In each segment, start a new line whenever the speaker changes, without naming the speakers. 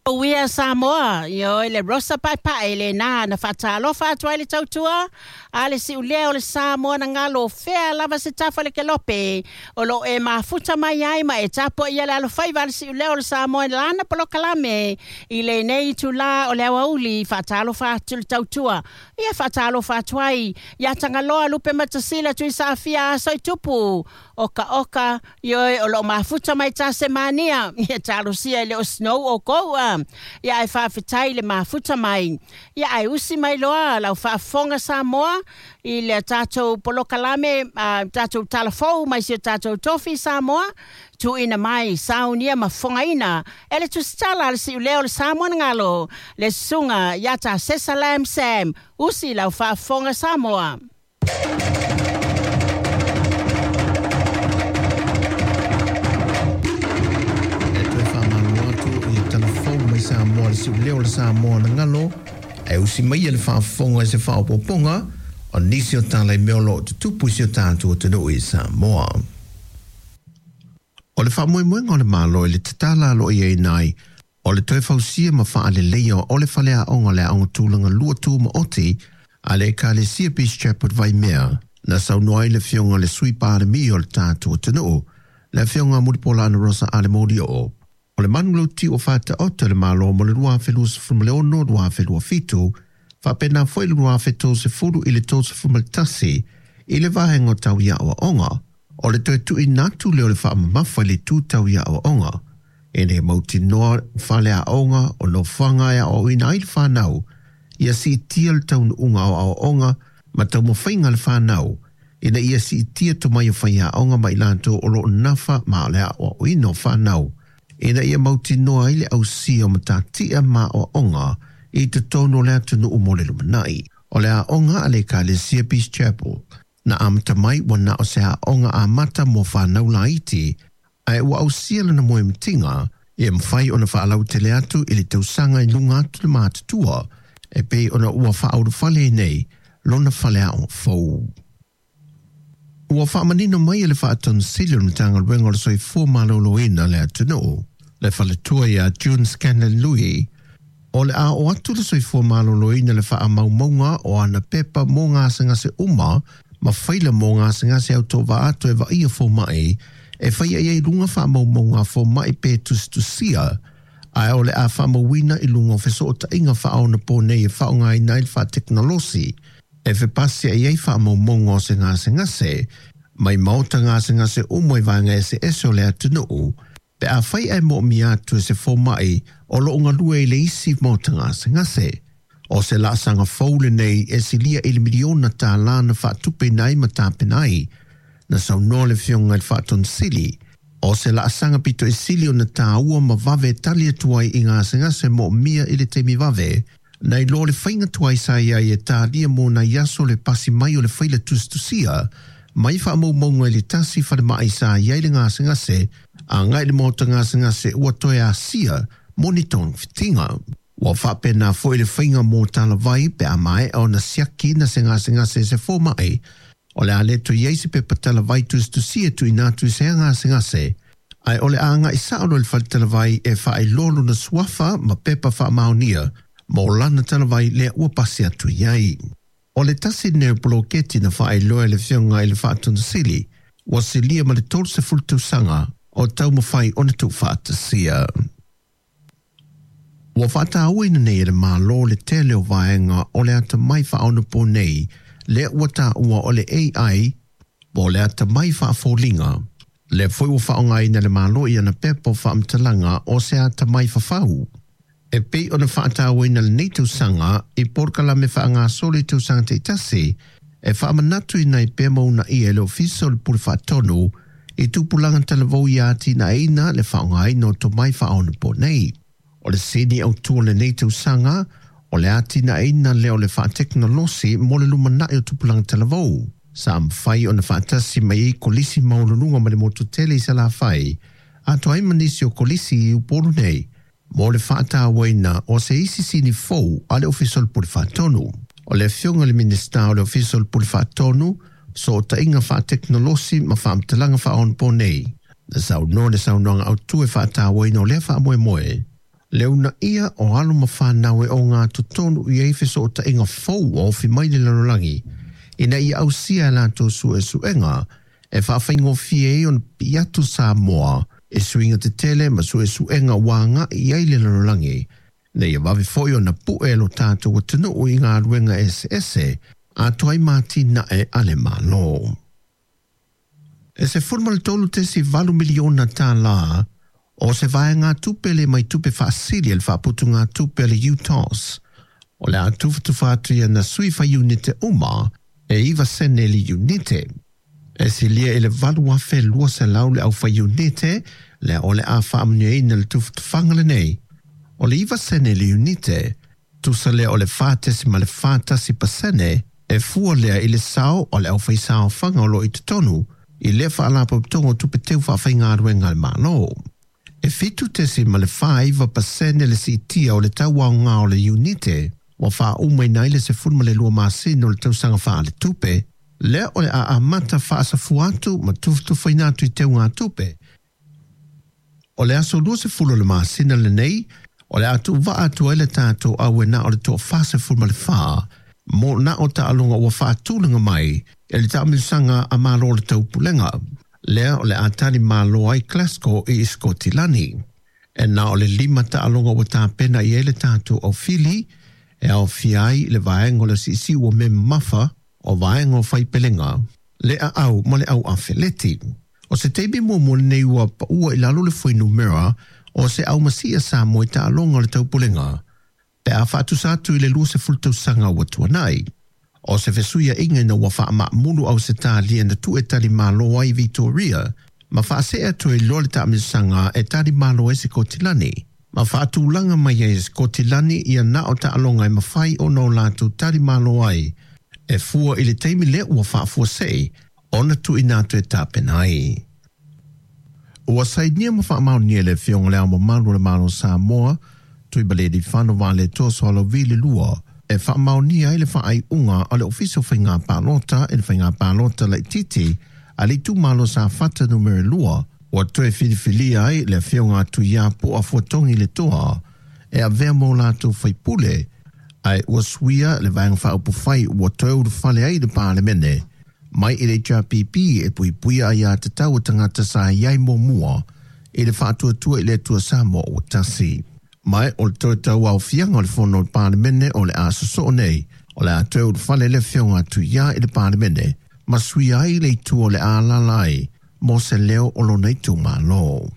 Uia Samoa, ioe le Rosa Paepae lena na faatalofa atu ai le tautua a le siulea o le Samoa na galo fea lava se tafa le kelope o lo e mafuta mai ai ma e tapuaia le alofaiva a le siulea o le Samoa i lana polokalame i lenei itulā o le aoauli. Faatalofa atu le tautua ia faatalofa atu ai ia Tagaloa Lupe Matasila Tuisaafia Aso i Tupu Oka oka ioe o loo mafuta mai Tasemania ia talosia e le o snow o kou a ia ai faafetai le mafuta mai ia ai usi mai loa lau faafofoga Samoa i le tatou polokalame tatou talafou mai si o tatou tofi Samoa tuuina mai saunia ma fofogaina e le tusitala a le siuleo o le Samoa na galo le susuga ia Tasesa Lam Sam. Usi lau faafofoga Samoa.
E toe faamalo atu i le talafou mai Samoa le siuleo o le Samoa na galo e usi mai le faafofoga i se faaopoopoga o nisi o tala i mea o lo o tutupu i si o tatou atunuu i Samoa. O le faamoemoega o le Malo i le tatala aloaia ai o le toe fausia ma faaleleia o le faleaoga o le Aoga Tulaga Lua Tumaoti a le Ekalesia Peace Chapel Vaimea na saunoa ai le afioga le Sui Palemia o le tatou atunuu, le afioga Mulipola Rosa Ale Molioo. O le manulauti ua faataoto e le Malo mo le 2026-2027 faapena foi le 2030 i le 31 i le vaega o tau i aoaoga o le toe tuuina atu lea o le faamamafa i le itu tau i aoaoga e le mautinoa faleaoga o nofoaga e aoaoina ai le fanau ia siitia le taunuuga o aoaoga ma taumafaiga a le fanau ina ia siitia tomai o faiaoga ma i latou o loo nafa ma o le aoaoina o fanau ina ia mautinoa ai le ausia o matatia ma aoaoga i totonu o le atunuu mo le lumanai. O le aoga a le Ekalesia Peace Chapel na amata mai ua na o se aoga amata mo whanau laiti ae ua ausia lana moemitiga e mafai ona faalautele atu i le tausaga i luga atu le matutua e pei ona ua faaulufale nei lona faleaoga fou. Ua faamanino mai e le Faatonusili o le Matagaluega o le Soifua Maloloina le atunuu, le faletua ia June Scanlon Lui, o le a oo atu le Soifua Maloloina le faamaumauga o ana pepa mo gasegase uma ma faila mo gasegase autovaa atu e vaaia fomai e faia i ai luga faamaumauga a fomai pe tusitusia ae o le a faamauina i luga o fesootaiga faaonaponei e faaaogaina ai le faatekonolosi e fepasi ai ai faamaumauga o se gasegase mai maota gasegase uma i vaega eseese o le atunuu pe afai ae moomia atu e se fomai o loo galue i le isi maota gasegase. O se laasaga fou lenei e silia i le miliona tālā na faatupeina ai ma tapena ai na saunoa le afioga i le Faatonusili. O se laasaga pito i sili ona tāua ma vave tali atu ai i gasegase moomia i le taimi vave nai lo le faiga tuai sa iai e talia mo nai aso le pasi mai o le faila tusitusia mai faamaumauga i le tasi falemai sa iai le gasegase agai i le maota gasegase ua toe asia mo ni togafitiga. Ua faapena foi le faiga mo talavai pe a maea ona siaki na se gasegase e se fomai o le a le toe i ai se pepa talavai tusitusia tuuina atu i se gasegase ae o le a agai sao loa i le faletalavai e faailoa lona suafa ma pepa faamaonia mo lana talavai lea ua pasi atu i ai. O le tasi lenei o poloketi na faailoa e le afioga i le Faatonusili ua silia ma le 30 tausaga o taumafai ona tuufaatasia. Ua faatauaina nei e le Malo le tele o vaega o le atamai faaonaponei lea ua taua o le AI po o le atamai faafoliga. Lea foi ua faaaogaina e le Malo i ana pepa o faamatalaga o se atamai fafau. E pei ona faatauaina lenei tausaga i polokalame faagasolo i tausaga taitasi e faamanatuina ai pea ma uunaia e le Ofisa o le Pule Faatonu i tupulaga talavou ia atinaeina le faaaogaina o tomai faaonaponei. O le sini autu o lenei tausaga o le atinaeina lea o le faatekonolosi mo le lumanai o tupulaga talavou. Sa mafai ona faatasi mai ai Kolisi Maualuluga ma le Motu Tele i Salafai atoa ai ma nisi o Kolisi i Upolu nei mo le faatauaina o se isi sini fou a le Ofisa o le Pule Faatonu. O le afioga i le Minisita o le Ofisa o le Pule Faatonu, Fesootaiga Faatekonolosi ma Faamatalaga Faaonaponei, na saunoa le saunoaga autu e faatauaina o lea faamoemoe. Le uunaia o alo ma fanau e ogatotonu i ai fesootaiga fou ua ofi mai le lalolagi, ina ia ausia e latou suesuega e faafaigofie ai ona pipii atu Samoa i suiga tetele ma suesuega ua agai i ai le lalolagi, ina ia vave foi ona pue lo tatou atunuu i galuega eseese atoa ai ma atinae a le Malo. E $13.8 miliona tālā o se vaegatupe le mai tupe faasili a le faaputugatupe a le UTOS o le a tufatufa atu i ana sui faiunite uma e 9 sene le iunite. E silia i le 8,200 le aufaiunite lea o le a faamanuiaina i le tufatufaga lenei. O le 9 sene le iunite, tusa lea o le 4.41% e fua lea i le sao o le aufaisaofaga o lo o i totonu i lea Faalapotopotoga o Tupe Teu Faafaigaluega a le Malo. E 7.49% le siitia o le tau aoga o le iunite ua faaumaina ai le 12 masina o le tausaga faaletupe, lea o le a amata faasafua atu ma tufatufaina atu i teugatupe. O le aso 20 o le masina lenei, o le a tuuvaa atu ai le tatou au e na o le toa 44 mo na o taaloga ua faatulaga mai e le taamilosaga a Malo o le Taupulega, lea o le a talimalo ai Glasgow i Sikotilani. E na o le 5 taaloga ua tapena i ai le tatou aufili, e aofia ai le vaega o le siusiu o mea mamafa, o vaega o faipelega, le aau ma le au afeleti. O se taimi muamua lenei ua paua i lalo le fuainumera o se aumasia Samoa i taaloga o le Taupulega, pe a faatusa atu i le 20 tausaga ua tuanai. O se fesuiaiga ina ua faamaamulu Ausetalia na tuu e talimalo ai Vitoria ma faasee atu ai loa le taamilosaga e talimalo ai Sikotilani, ma faatulaga mai ai e Sikotilani ia na o taaloga e mafai ona o latou talimalo ai e fua i le taimi lea ua faafuasei ona tuuina atu e tapena ai. Ua sainia ma faamaonia e le Afioga i Le Ao Mamalu o le Malo o Samoa, Tuimalealiifano Vaaletoa Sualauvi le Lua, e faamaonia ai le faaiuga a le Ofisa o Faiga Palota i le Faiga Palota Laitiiti a le Itumalo Safata Numera 2, ua toe filifilia ai le Afioga a Tuiapo Afuatogi Letoa e avea mo latou faipule, ae ua suia le Vaega Faaupufai ua toe ulufale ai i le Palemene mai i le HRPP e puipuia aiatatau a tagata sa i ai muamua i le Faatuatua i le Atua Samoa ua Tasi. Ma o le toe tauaofiaga o le Fono o le Palemene o le a sosoo nei, o le a toe ulufale le Afioga a Tuia i le Palemene ma suia ai le itu o le a alaala ai mo se leo o lona itumalo.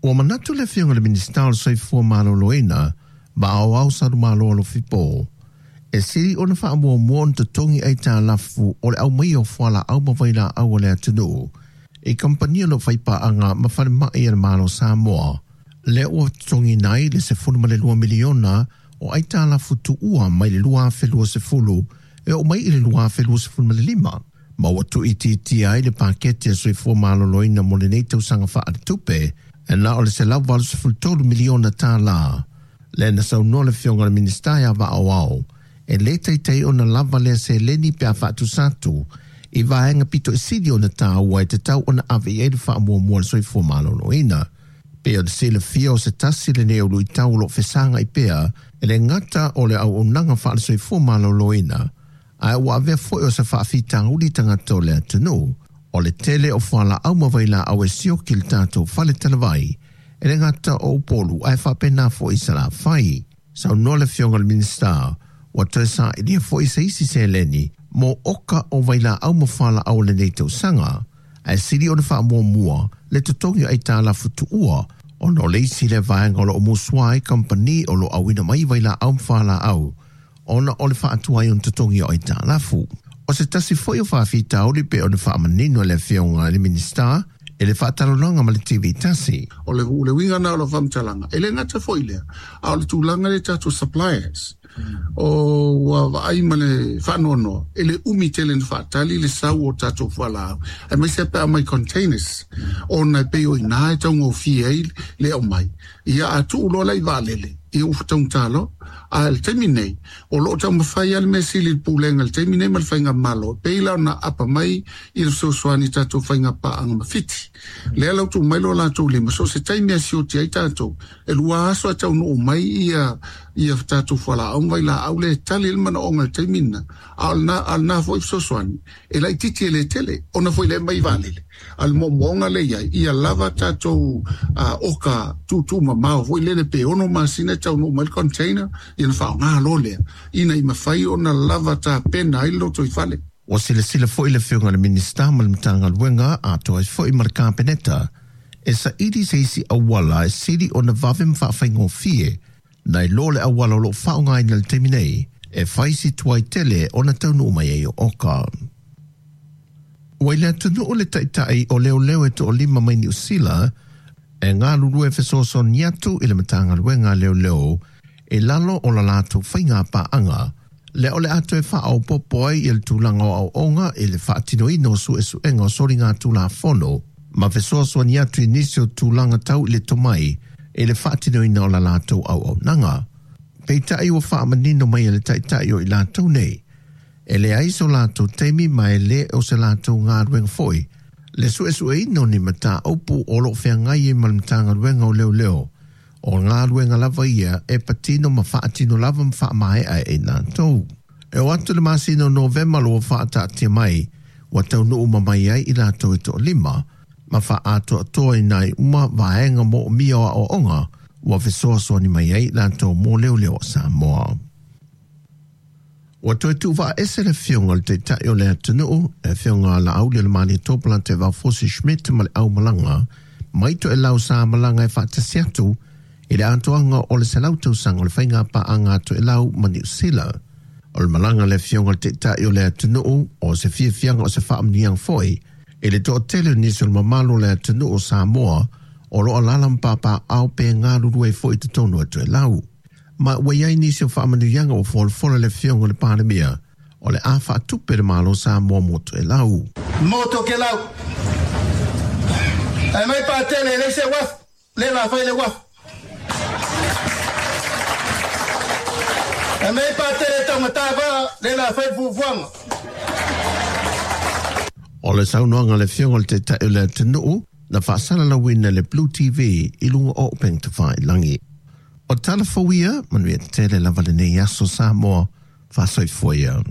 Ua manatu le Afioga i le Minisita o le Soifua Maloloina ma Aoao Salumalo Alofi Po, e sili ona faamuamua ona totogi aitalafu o le aumaia o fualaau ma vailaau a le atunuu i kamupani o lo o faipaaga ma falemai a le Malo o Samoa, lea ua totogiina ai le $12 miliona o aitalafu tuua mai le 2020 e oo mai i le 2025, ma ua tuuitiitia ai le paketi a Soifua Maloloina mo lenei tausaga faaletupe e na o le $183 miliona tālā. Lea na saunoa le Afioga i le Minisita ia Vaaoao, e le taitai ona lava lea seleni pe a faatusa atu i vaega pito i sili ona tāua e tatau ona ave i ai le faamuamua a le Soifua Maloloina. Pei ona silafia o se tasi lenei o luitau o lo o fesagai pea e le gata o le auaunaga faale-soifua maloloina, ae ua avea foi o se faafitauli tagata o le atunuu, o le tele o fualaau ma vailaau e sioki i le tatou fale talavai, e le gata o Upolu ae faapena foi i Salafai. Saunoa le Afioga i le Minisita, ua toe sailia foi se isi seleni mo oka o vailaau ma fualaau o lenei tausaga, ae sili ona faamuamua le totogi o aitalafu tuua ona o le isi lea vaega o lo o musua ai kamupani o lo o auina mai vailaau ma fualaau ona o le faatuai ona totogi o aitalafu. O se tasi foi o faafitauli pei ona faamanino e le Afioga i le Minisita i le faatalanoaga ma le TV tasi.
O le uiga lena o lau faamatalaga, e le gata foi i lea, a o le tulaga lea i tatou suppliers, o ua vaai ma le faanoanoa, e le umi tele ona faatali le sau o tatou fualaau, aemaise pe a aumai containers, ona e pei o i ina e taugofie ai le aumai. Ia a tuu loa la i vaalele, Ia ua taugata loa. A o le taimi nei, o lo o taumafai lava le mea sili i le pulega i le taimi nei ma le faigamalo, e pei la ona aapa mai i le fesoasoani i tatou faiga paaga ma Fiti. Lea la ua tuu mai lo latou lima, so o se taimi e sioti ai tatou, e 2 aso ae taunuu mai ia ia tatou fualaau ma vailaau lea e tali ai le manaoga i le taimi lena. A o lena foi fesoasoani, e laitiiti e le tele, ona foi lea e aumai i vaalele. A o le moomooga lea e i ai, ia lava tatou oka tuutuumamao foi lele pe 6 masina e taunuu mai le container, ia ona faaaoga loa lea, ina ia mafai ona lava tapena ai le lotoifale.
Ua silasila foi le Afioga i le Minisita ma le Matagaluega atoa ai foi ma le Kapeneta e saili se isi auala e sili ona vave ma faafaigofie nai lo le auala o lo o faaaogaina i le taimi nei e fai si tuai tele ona taunuu mai ai o oka. Ua i le atunuu le taitai o leoleo e toalima mai Niu Sila e galulue fesoasoani atu i le Matagaluega a Leoleo i lalo o la latou faiga paaga, lea o le a toe faaopoopo ai i le tulaga o aoaoga i le faatinoina o suesuega o soligatulafono ma fesoasoani atu i nisi o tulaga tau i le tomai i le faatinoina o la latou auaunaga. Peitai ua faamanino mai e le taitai o i latou nei, e leai so latou taimi ma e le o se latou galuega foi le suesueina o ni mataupu o lo o feagai ai ma le Matagaluega o Leoleo, o galuega lava ia e patino ma faatino lava ma faamaea e i latou. E oo atu i le masina o Novema ua faataatia mai, ua taunuu ma mai ai i latou e toalima, ma faaatoatoa ai uma vaega moomia o aoaoga ua fesoasoani mai ai latou mo leoleo o Samoa. Ua toe tuuvaaese le afioga i le Taitai o le atunuu, le afioga a Laaulialemalietoa Polataivao Fosi Schmidt ma le aumalaga mai Toelau sa malaga e faatasi atu i le atoaga o le 100 tausaga o le faiga paaga a Toelau ma Niu Sila. O le malaga a le afioga i le Taitai o le atunuu o se fiafiaga o se faamanuiaga foi i le toatele o nisi o le mamalu o le atunuu o Samoa o lo o alaala ma papaaao pe galulue foi i totonu o Toelau. Ma ua i ai nisi o faamanuiaga ua folafola le afioga i le Palemia o le a faatupe le Malo Samoa mo Toelau.
Mo Tokelau. Ae mai Patele e leai se uafu, lea la fai le uafu. Ae mai Patele e taugata vaa, lea la fai le fuafuaga.
O le saunoaga a le afioga i le Taitai o le atunuu na faasalalauina e le Blue TV i luga o upega tafailagi. O tala fou ia, manuia tele lava lenei aso Samoa, faasoifua ia.